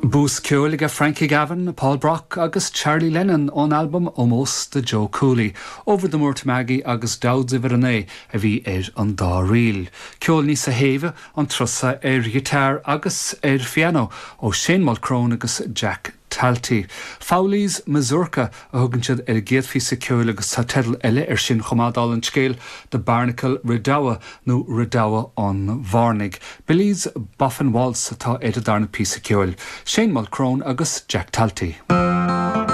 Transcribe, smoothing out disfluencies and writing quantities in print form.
Bús ceoil aige Frankie Gavin, Paul Brock agus Charlie Lennon ón albam Ómós do Joe Cooley, Over the Moor to Maggie agus Dowd's Uimhir 9 a bhí ar an dá ríl. Ceol níosa shéimhe an turas seo ar ghiotár agus ar phianó ó Shane Mulchrone agus Jack Talty. Fowley's Mazurka a thugann siad ar an gcéad phíosa ceoil agus tá teideal eile air sin chomh maith, dála an scéil, The Barnacle Redowa nó Redowa an Bhairnigh. Billy's Boffin Waltz atá ar an darna píosa ceoil. Shane Mulchrone agus Jack Talty.